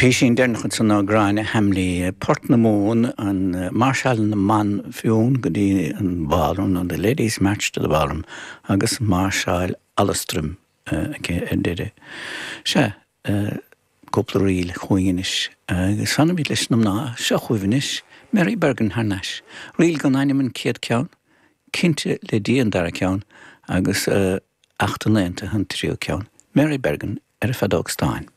Písín deireanach ansan ná Gráinne Hambly, Port na Mumhan, an Máirseáil na mBan Fionn go dtí an Ballroom, nó The Ladies March to the Ballroom, agus Máirseáil Alastrim aici ar deireadh. Sea, cúpla ríl chugainn anois, agus fanfaimid leis na mná. Seo chugaibh anois Mary Bergin thar n-ais. Ríl gan ainm an chéad ceann, Cinnte le Dia an dara ceann, agus Acht an Aontaithe an tríú ceann. Mary Bergin ar a feadóg stáin.